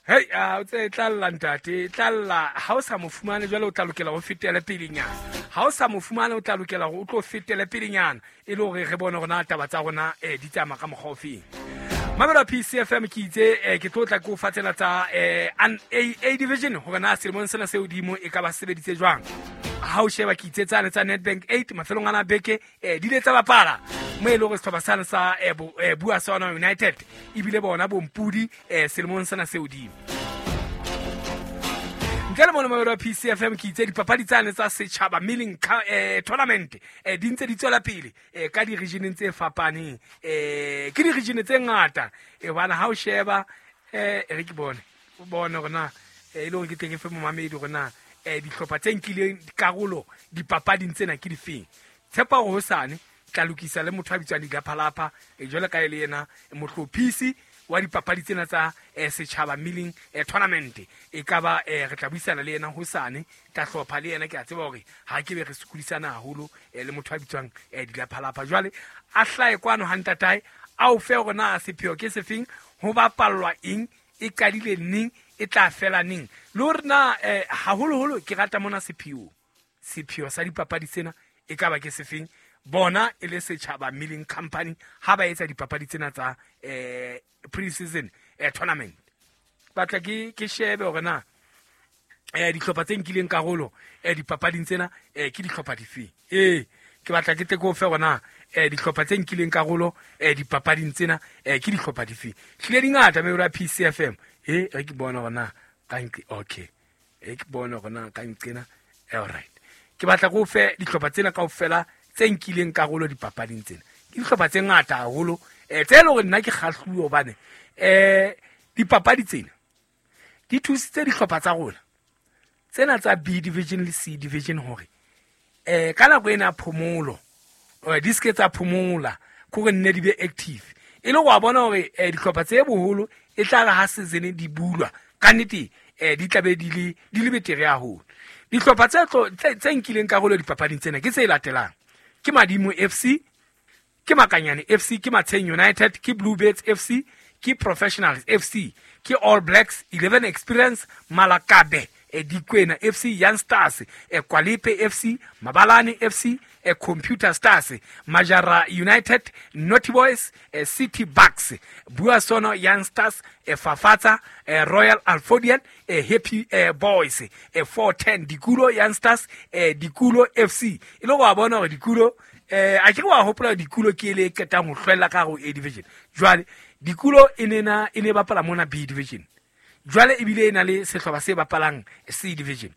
Hei, a o tse tla lla ntate, tla lla ha o sa mo fumane jwale o tla lokela ho fetele pelenyana. Ha o sa mo fumane o tla lokela hore o tlo fetele pelenyana e le hore re bone hore na taba tsa rona di tsamaya ka mokgwa o feng. Mamelo ya PCFM ke itse ke tlo tla ke o fa tsena tsa A division hore na selemong sena se hodimo e ka ba sebeditse jwang. Ha o sheba ke itse tsane tsa Nedbank 8 mafelong ana beke di ile tsa bapala mo e le hore sehlopha sane sa Bua Sona United ebile bona bompudi selemong sena se hodimo. Ntle le mono mamelo ya PCFM ke itse dipapadi tsane tsa setjhaba milling tournament di ntse di tswela pele ka di-regioneng tse fapaneng. Ke di-region tse ngata hobane ha o sheba re ke bone o bone hore na e le hore ke tle ke fe momamedi hore na dihlopha tse nkileng dikarolo dipapading tsena ke difeng. Tshepa hore hosane tla lokisa le motho a bitswang Dilaphalapha jwale ka e le yena mohlophisi wa dipapadi tsena tsa setjhaba milling tournament. E ka ba re tla buisana le yena hosane, tla hlopha le yena. Ke a tseba hore ha ke be re sokodisana haholo le motho a bitswang Dilaphalapha. Jwale a hlahe kwano ha ntatae a o fe hore na sepheo ke sefeng, ho bapallwa eng, e qadile neng, e tla fela neng, le hore na haholoholo ke rata mona sepheo. Sepheo sa dipapadi tsena e ka ba ke sefeng, bona e le setjhaba milling company ha ba etsa dipapadi tsena tsa pre-season tournament. Batla ke shebe hore na dihlopha tse nkileng karolo dipapading tsena ke dihlopha difeng. Ke batla ke tle ke o fe hore na dihlopha tse nkileng karolo dipapading tsena ke dihlopha difeng. Hlile di ngata meholo ya PCFM. Re ke bone hore na ka nqe, okay. Ke bone hore na ka nqena. All right. Ke batla ke o fe dihlopha tsena kaofela tse nkileng karolo dipapading tsena. Ke dihlopha tse ngata haholo tse leng hore nna ke kgahluwe hobane dipapadi tsena di thusitse dihlopha tsa rona tsena tsa B division le C division hore ka nako ena ya phomolo di seke tsa phomola, ke hore nne di be active. E le wa bona hore dihlopha tse boholo e tla re ha season di bulwa ka nnete di tla be di le betere haholo. Dihlopha tse nkileng karolo dipapading tsena ke tse latelang: ke Madimo FC, ke Makanyane FC, ke Matsheng United, ke Bluebirds FC, ke Professionals FC, ke All Blacks, 11 Experience, Malakabe, Dikwena FC, Young Stars, Kwalepe FC, Mabalane FC, Computer Stars, Majara United, Naughty Boys, City Bucks, Buasono Young Stars, Fafatsa, Royal Alphodian, Happy Boys, 410 Dikulo Young Stars, Dikulo FC. E le go bona hore Dikulo a ke wa hopola Dikulo ke le qetang ho hlwella ka ho A division. Jwale Dikulo e ne e ne bapala mona B division. Jwale ebile e na le sehlopha se bapalang C division.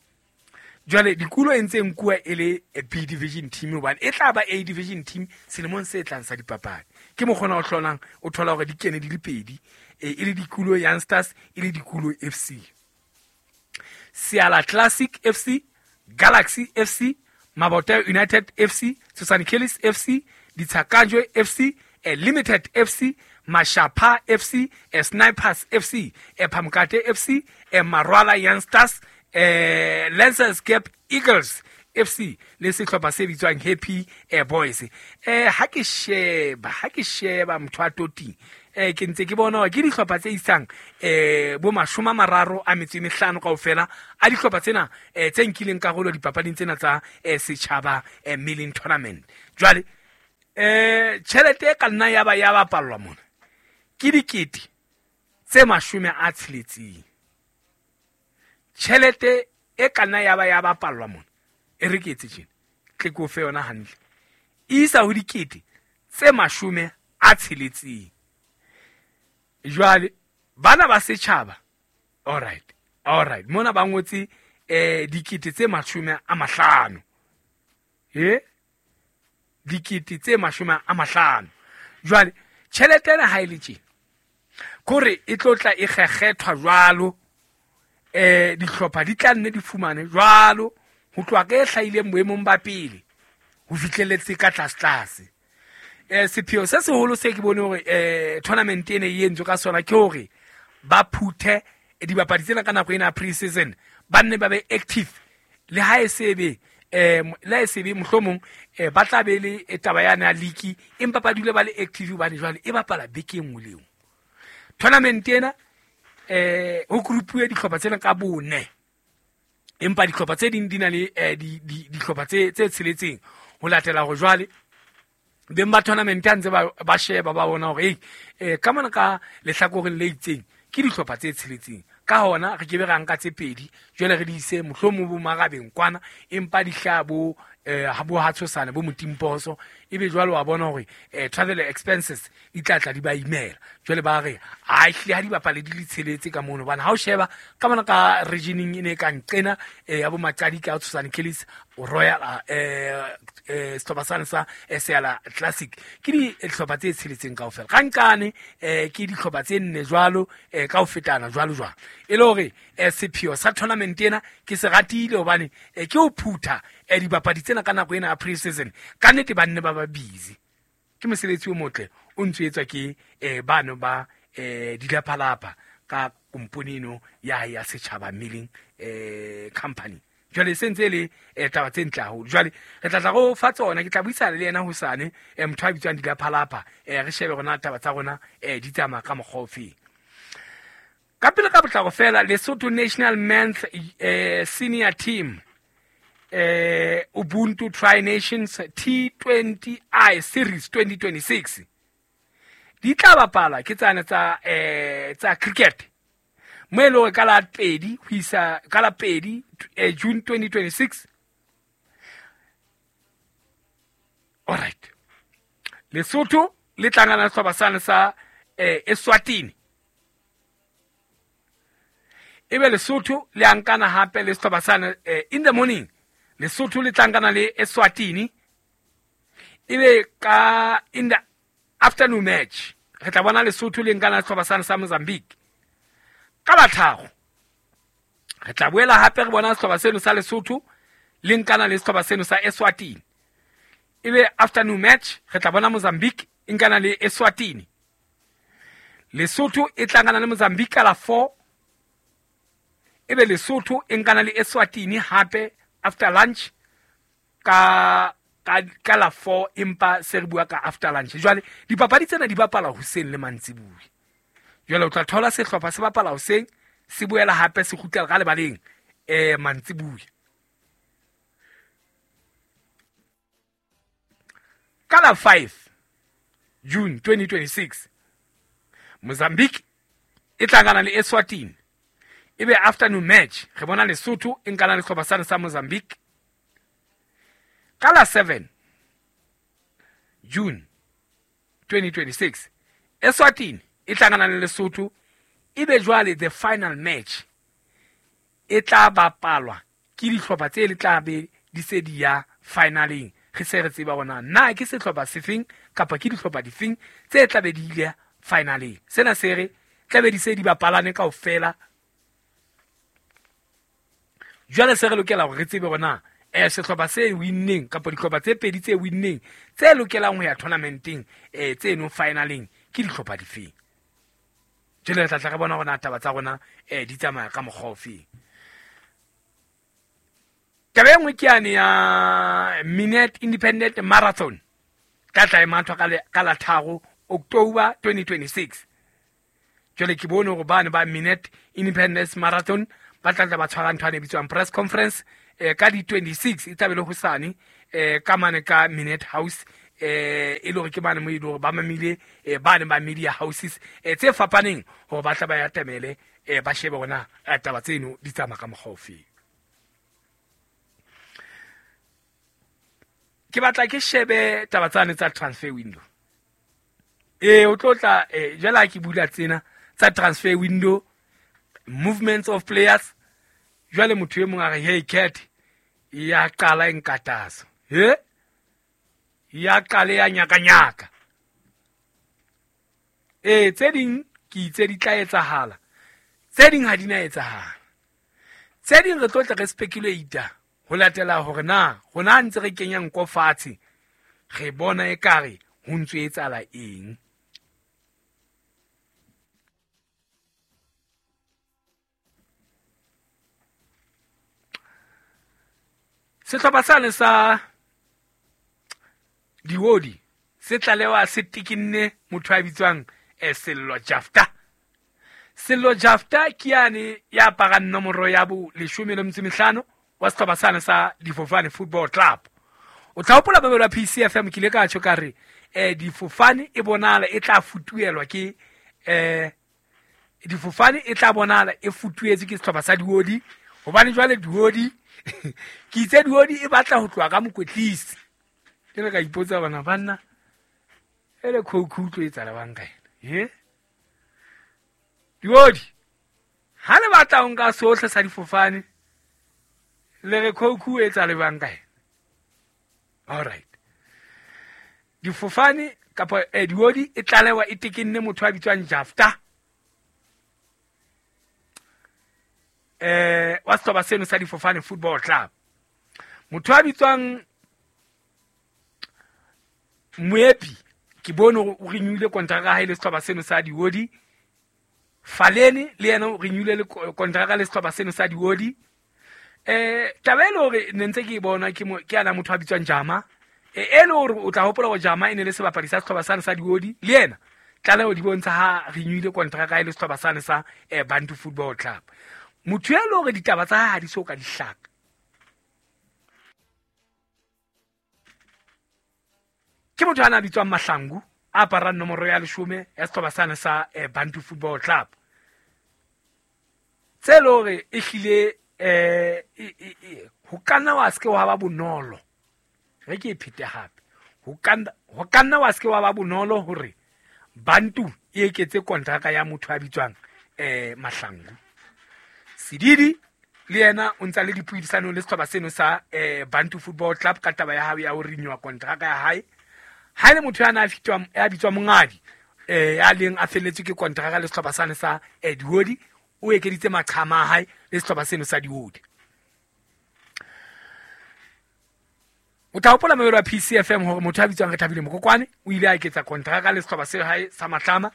Jwale Dikulo e ntse nkuwa e le B division team hobane e tla ba A division team selemong se tlang sa dipapadi. Ke mokgona o hlolang o thola hore di kene di le pedi, e le Dikulo Young Stars, e le Dikulo FC. Siala Classic FC, Galaxy FC, Mabota United FC, Susan Kellis FC, Ditshakajwe FC, Limited FC, Mashapa FC, Snipers FC, Phamkate FC, Marwala Young Stars, Lancers Gap Eagles FC le sehlopha se bitswang Happy Boys. Ha ke sheba motho a toting, ke ntse ke bona hore ke dihlopha tse isang bo 35 kaofela a dihlopha tsena tse nkileng karolo dipapading tsena tsa setjhaba milling tournament. Jwale tjhelete e ka nna ya ba ya bapallwa mona ke dikete tse 60. Tjhelete e ka nna ya ba ya bapallwa mona, e re ke etse tjena, tle ke o fe yona hantle, e isa ho dikete tse 60. Jwale bana ba setjhaba, all right, mona ba ngotse dikete tse 50. Dikete tse 50. Jwale tjhelete ena ha e le tjena, kore e tlo tla e kgekgethwa jwalo, dihlopha di tla nne di fumane jwalo ho tloha ka e hlahileng boemong ba pele ho fihlelletse ka tlase. Sepheo se seholo se ke bone hore tournament ena e entswe ka sona ke hore ba phuthe dibapadi tsena ka nako ena pre-season, ba nne ba be active le ha e se be le ha e se be mohlomong ba tla be le taba ya na league, empa ba dule ba le active hobane jwale e bapala beke e nngwe le e nngwe. Tournament ena ho groupuwe dihlopha tsena ka bone, empa dihlopha tse ding di na le dihlopha tse tsheletseng ho latela hore jwale beng ba tournament ha ntse ba sheba ba bona hore ka mona ka lehlakoreng le itseng ke dihlopha tse tsheletseng, ka hona re ke be ra nka tse pedi jwale re di ise mohlomong bo marabeng kwana, empa di hlaha bo ha bo ha tshosana bo motimposo, ebe jwale wa bona hore travel expenses di tla tla di ba imela. Jwale ba re a ehlile ha di bapale di le tsheletse ka mono, hobane ha o sheba ka mona ka regioneng e ne ka nqena ya bo Maqadi ka Tshosane Kellis Royal sehlopha sane sa Seala Classic, ke dihlopha tse tsheletseng kaofela. Ka nkane ke dihlopha tse nne jwalo ka ho fetana jwalo jwalo, e le hore sepheo sa tournament ena ke se ratile hobane ke ho phutha dibapadi tsena ka nako ena ya pre-season. Ka nnete ba nne ba ba busy, ke mosebetsi o motle o ntso etswa ke bano ba Dilapalapa ka kompone eno ya Setjhaba Milling Company. Jwale se ntse le taba tse ntle haholo. Jwale re tla tla go fa tsona, ke tla buisana le yena hosane, motho a bitswang Dilapalapa, re shebe rona taba tsa rona di tsamaya ka mokgwa ofeng. Ka pele ka potlako fela, Lesotho National Men's Senior Team Ubuntu Tri-Nations T20I Series 2026 di tla bapala ke tsane tsa cricket, mo e le hore ka la 2 ho isa ka la 2 June 2026. All right, Lesotho le tlangana sehlopha sane sa Eswatini, ebe Lesotho le ankana hape le sehlopha sane in the morning. Lesotho le tlankana le Eswatini, ebe ka in the afternoon match re tla bona Lesotho le nkana le sehlopha sane sa Mozambique. Ka la 3 re tla boela hape re bona sehlopha seno sa Lesotho le nkana le sehlopha seno sa Eswatini, ebe afternoon match re tla bona Mozambique e nkana le Eswatini. Lesotho e tlangana le Mozambique ka la 4, ebe Lesotho e nkana le Eswatini hape after lunch ka la 4, empa se re bua ka after lunch. Jwale dipapadi tsena di bapala hoseng le mantsibuya. Jwale o tla thola sehlopha se bapala hoseng, se boela hape se kgutlela ka lebaleng mantsibuya. Ka la 5 June 2026 Mozambique e tlangana le Eswatini, ebe afternoon match re bona Lesotho e nkana le sehlopha sane sa Mozambique. Ka la 7 June 2026 Eswatini e tlangana le Lesotho, ebe jwale the final match e tla bapalwa ke dihlopha tse le tla be di se di ya finaleng. Re se re tseba hore na ke sehlopha sefeng kapa ke dihlopha difeng tse tla be di ile finaleng. Sena se re tla be di se di bapalane kaofela. Jwale se re lokela hore re tsebe hore na sehlopha se winneng kapa dihlopha tse pedi tse winneng tse lokelang ho ya tournamenteng tse no finaleng ke dihlopha difeng. Jwale re tla tla re bona hore na taba tsa rona di tsamaya ka mokgwa ofeng. Taba e nngwe ke yane ya Minet Independent Marathon ka tla e mathwa ka la 3 October 2026. Jwale ke bone hore bane ba Minet Independence Marathon ba tla tla ba tshwara ntho e bitswang press conference ka di 26 e tla be le hosane ka mane ka Minet House, e le hore ke bane mo e le hore ba mamile bane ba media houses tse fapaneng hore ba tla ba ya tamele ba shebe hore na taba tseno di tsamaya ka mokgwa ofeng. Ke batla ke shebe taba tsane tsa transfer window. O tlo tla jwale ha ke bula tsena tsa transfer window, movements of players, jwale motho e mong a re hey cat ya qala e nkatasa, he ya qale ya nyakanyaka. Tse ding ke itse di tla etsahala, tse ding ha di na etsahala, tse ding re tlo tla re speculate ho latela hore na rona ntse re kenya nko fatshe re bona ekare ho ntso etsahala eng. Sehlopha sane sa Diodi se tlalewa se tikinne motho a bitswang Sello Jafta. Sello Jafta ke yane ya aparang nomoro ya bo 15 wa sehlopha sane sa Difofane Football Club. O tla hopola babelo wa PCFM ke ile ka tjho ka re Difofane e bonala e tla futuelwa ke Difofane e tla bonala e futuetse ke sehlopha sa Diodi, hobane jwale Diodi ke itse Diodi e batla ho tloha ka mokwetlisi. Ke re ka ipotsa bana banna ele khoukhou tlo etsa le bang ka ena. Diodi ha le batla ho nka sohle sa Difofane le re khoukhou etsa le bang ka ena. All right. Difofane kapa Diodi e tlalewa e tekenne motho a bitswang Jafta. Wa sehlopha seno sa Difofane Football Club. Motho a bitswang Moepi ke bone hore o renewile kontraka ya hae le sehlopha seno sa Diodi. Falene le yena o renewile le kontraka le sehlopha seno sa Diodi. Taba e le hore ne ntse ke e bona ke ana motho a bitswang Jama. E le hore o tla hopola hore Jama e ne le sebapadi sa sehlopha sane sa Diodi, le yena tlaleho di bontsha ha renewile kontraka ya le sehlopha sane sa Bantu Football Club. Motho e le hore ditaba tsa hae ha di so ka di hlaka. Ke motho a na bitswang Mahlangu, a aparang nomoro ya 10 ya sehlopha sane sa Bantu Football Club. Tse le hore e hlile ho ka nna wa se ke wa ba bonolo. Re ke e phete hape. Ho ka nna wa se ke wa ba bonolo hore Bantu e eketse kontraka ya motho a bitswang Mahlangu. Sedidi le yena o ntsa le dipuisanong le sehlopha seno sa Bantu Football Club ka taba ya hae ya ho renewa kontraka ya hae. Ha le motho ya na ya bitswa Mongadi, ya leng a felletswe ke kontraka le sehlopha sane sa Diodi, o ekeditse maqhama a hae le sehlopha seno sa Diodi. O tla hopola mobelo wa PCFM hore motho a bitswang Rethabile Mokokwane o ile a eketsa kontraka le sehlopha se hae sa Matlama.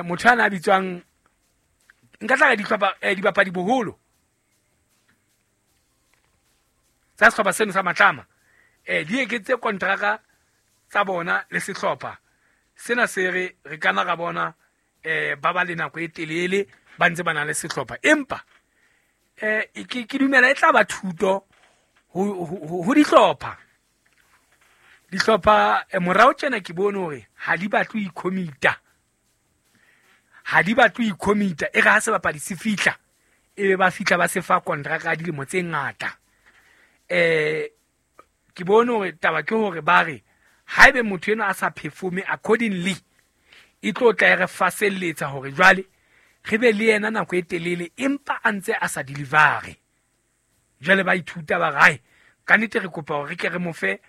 Motho ana a bitswang nka tla re dihlopha dibapadi boholo tsa sehlopha seno sa Matlama di eketse kontraka tsa bona le sehlopha sena se re re kana ra bona ba ba le nako e telele ba ntse ba na le sehlopha, empa ke dumela e tla ba thuto ho dihlopha. Dihlopha morao tjena ke bone hore ha di batle ho ikhomita. Ha di batle ho ikhomita, e re ha sebapadi se fihla, e be ba fihla ba se fa kontraka ya dilemo tse ngata. Ke bone hore taba ke hore ba re haebe motho enwa a sa performe accordingly, e tlo tla e re faselletsa hore jwale re be le yena nako e telele empa a ntse a sa delivere. Jwale ba ithuta ba re, hai, ka nnete re kopa hore re ke re mo fe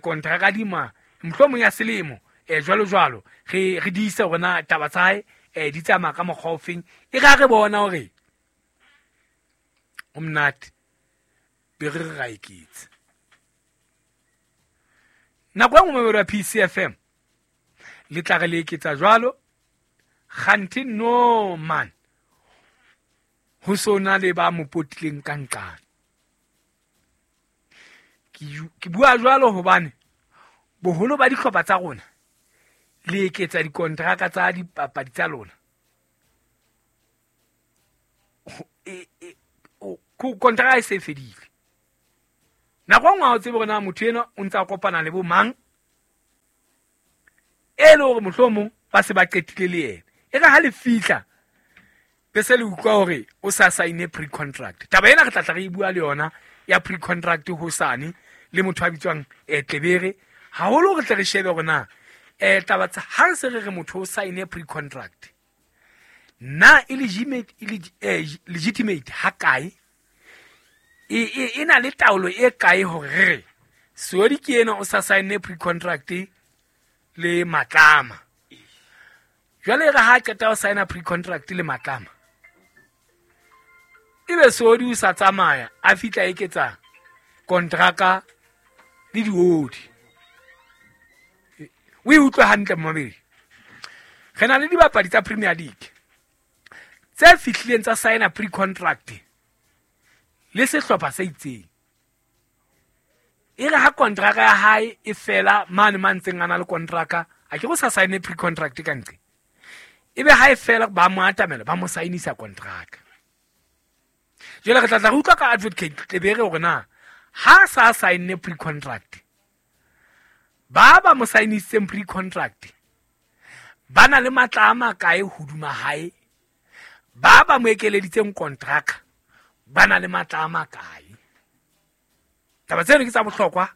kontraka dima mohlomong ya selemo, jwalo jwalo, re diise hore na taba tsa hae di tsamaya ka mokgwa ofeng. E re ha re bona hore o monate, be re re ra eketsa. Nako e nngwe mobelo wa PCFM le tla re le eketsa jwalo, kganthe no man, ho so na le ba mo potileng ka nqane. Ke bua jwalo hobane boholo ba dihlopha tsa rona le eketsa dikontraka tsa dipapadi tsa lona. Kontraka e se fedile. Nako e nngwe ha o tsebe hore na motho enwa o ntse a kopana le bo mang, e le hore mohlomong ba se ba qetile le yena. E re ha le fihla be se le utlwa hore o sa sign pre-contract. Taba ena re tla tla re e bua le yona ya pre-contract hosane le motho a bitswang Tlebere. Haholo re tle re shebe hore na taba tsa ha re se re re motho o sign pre-contract, na e legitimate ha kae, e na le taolo e kae hore re re Seodi ke ena o sa sign pre-contract le Matlama. Jwale re ha qeta ho sign pre-contract le Matlama, ebe Seodi o sa tsamaya a fihla eketsa kontraka le Diodi. O e utlwe hantle mmamedi. Re na le dibapadi tsa Premier League tse fihlileng tsa sign pre-contract le sehlopha se itseng. E re ha kontraka ya hae e fela mane ma ntseng a na le kontraka, a ke go sa sign pre-contract ka ntle. Ebe ha e fela ba mo atamela ba mo saenisa kontraka. Jwale re tla tla re utlwa ka advocate Tlebere hore na ha sa saenne pre-contract, ba mo sainisitseng pre-contract ba na le matla a makae hodima hae, ba mo ekeleditseng kontraka ba na le matla a makae. Taba tseno ke tsa bohlokwa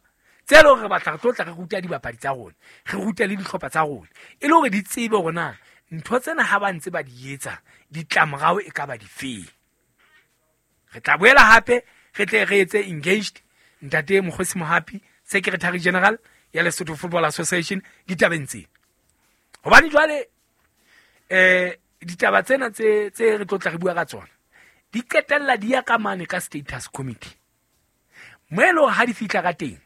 tse leng re batla re tlo tla re ruta dibapadi tsa rona, re rute le dihlopha tsa rona, e le hore di tsebe hore na ntho tsena ha ba ntse ba di etsa ditlamorao e ka ba difeng. Re tla boela hape re tle re etse engaged ntate Mokgosi Mohapi, Secretary General ya Lesotho Football Association ditabeng tsena. Hobane jwale ditaba tsena tse re tlo tla re bua ka tsona di qetella di ya ka mane ka status committee. Mo e leng ha di fihla ka teng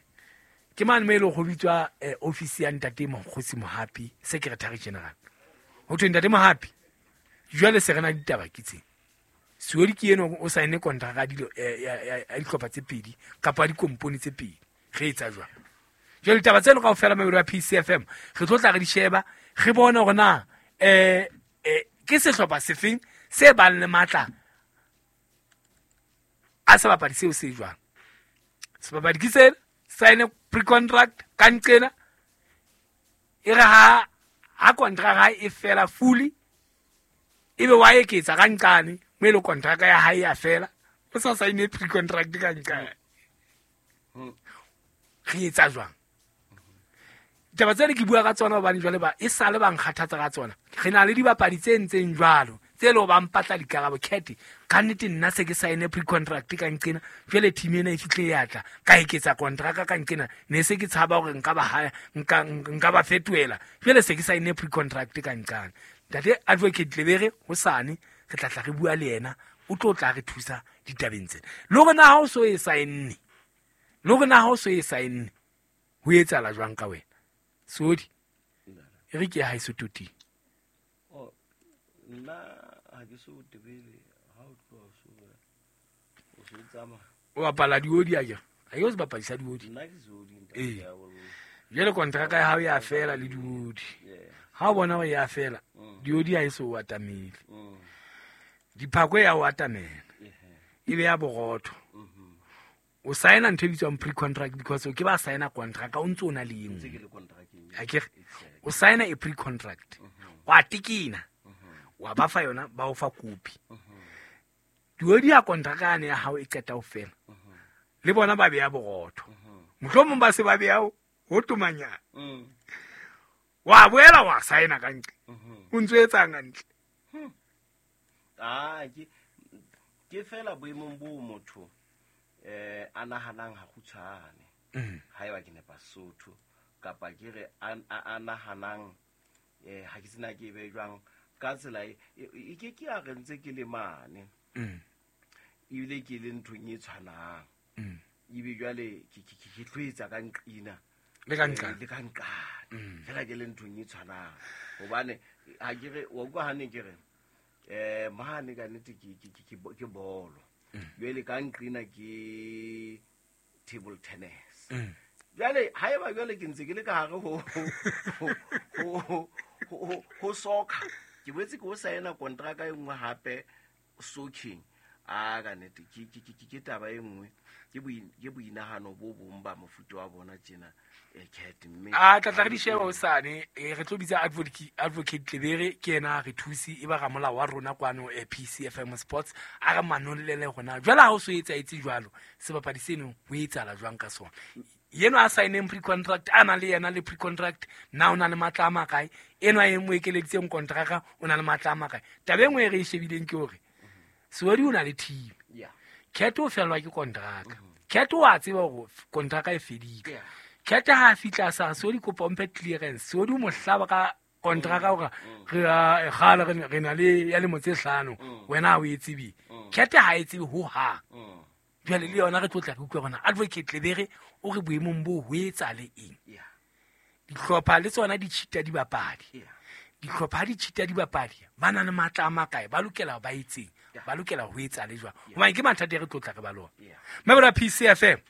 ke mane mo e leng go bitswa office ya ntate Mokgosi Mohapi, Secretary General. Ho thwe ntate Mohapi, jwale se re na ditaba ke tse. Seodi ke eno o saenne kontraka ya dihlopha tse pedi kapa dikompone tse pedi. Re etsa jwang? Jwale ditaba tseno kaofela mabelo ya PCFM re tlo tla re di sheba, re bone hore na ke sehlopha sefeng se bang le matla a sebapadi seo se jwang. Sebapadi ke sena, saene pre-contract ka nqena, e re ha kontraka e fela fully, ebe wa eketsa ka nqane mo e le kontraka ya hae ya fela, o sa saene pre-contract ka nqane. Re etsa jwang? Ditaba tsena ke bua ka tsona hobane jwale ba e sale ba nkgathatsa ka tsona. Re na le dibapadi tse ntseng jwalo tse le ba mpatla dikarabo. Cat, ka nnete nna se ke saene pre-contract ka nqena, jwale team ena e fihle ya tla ka eketsa kontraka ka nqena, ne se ke tshaba hore nka ba haya, nka ba fetohela, jwale se ke saene pre-contract ka nqane. Ntate Advocate Tlebere hosane re tla tla re bua le yena, o tlo tla re thusa ditabeng tsena. Le hore na ha o so e saenne, le hore na ha o so e saenne ho etsahala jwang ka wena? Sodi, e re ke ya haeso toting. Nna ha ke so tebele ha o tloha o so tsamaya. O bapala diodi a kere? Ha ke o sebapadi sa diodi. Nna ke seodi, ntate. Jwale kontraka ya hao ya fela le diodi. Ha o bona hore ya fela, diodi ha e so o atamele. Diphako ya o atamela. E be ya borotho. O saena ntho e bitswang pre-contract because o ke ba saena contract o ntse o na le e nngwe. Akere o saena e pre-contract. Wa tekena. Wa ba fa yona, ba o fa kopi. Diodi ya kontraka yane ya hao e qeta ho fela. Le bona ba beya borotho. Mohlomong ba se ba beya ho tomanyana. Wa boela wa saena ka ntle. O ntso etsang hantle? Ke fela boemong bo motho a nahanang ha kgutshwane. Haeba ke nepa Sotho kapa ke re a nahanang ha ke sena ke be jwang ka tsela e ke ke a re ntse ke le mane. Ebile ke le nthong e tshwanang. Ebe jwale ke tlo etsa ka nqina. Le ka nqane. Le ka nqane. Fela ke le nthong e tshwanang. Hobane ha ke re wa utlwa hane ke re mane ka nnete ke bolo. Jwale ka nqina ke table tennis. Jwale haeba jwale ke ntse ke le ka hare ho soccer, ke boetse ke o saena kontraka e nngwe hape soaking. A ka nnete ke taba e nngwe, ke boinahano bo bong ba mofuta wa bona tjena cat mme a tla tla re di sheba hosane. Re tlo bitsa Advocate Tlebere, ke yena re thusi e ba ramolao wa rona kwano PCFM Sports, a re manollele hona jwale ha o so etsa etse jwalo sebapadi seno ho etsahala jwang ka sona. Yeno a saeneng pre-contract, a na le yena le pre-contract, na o na le matla a makae? Eno a e mo ekeleditseng kontraka o na le matla a makae? Taba e nngwe e re e shebileng ke hore Seodi o na le team. Cat o fellwa ke kontraka. Cat o a tseba hore kontraka e fedile. Cat ha a fihla sa Seodi kopa o mphe clearance. Seodi o mo hlaba ka kontraka hore re kgale re na le ya lemo tse 5, wena ha o e tsebe. Cat ha e tsebe ho hang. Jwale le yona re tlo tla re utlwa hore Advocate Tlebere o re boemong bo ho etsa le eng. Dihlopha le tsona di cheata dibapadi. Dihlopha di cheata dibapadi, ba na le matla a makae, ba lokela ba etseng, ba lokela ho etsa le jwang. Hobane ke mathata e re tlo tla re ba lona. Mabelo a PCFM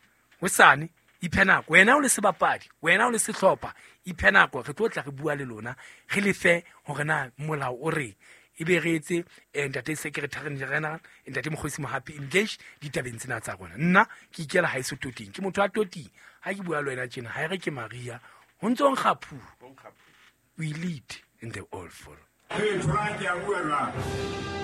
hosane Iphe nako wena o le sebapadi, wena o le sehlopha, iphe nako. Re tlo tla re bua le lona, re le fe hore na molao o reng, ebe re etse ntate secretary general, ntate Mokgosi Mohapi, engage ditabeng tsena tsa rona. Nna ke ikela haeso toting, ke motho wa toting. Ha ke bua le wena tjena, ha e re ke Maria ho ntso nkga phu. We lead and they all follow. Hey, Frank, ke a bua jwang?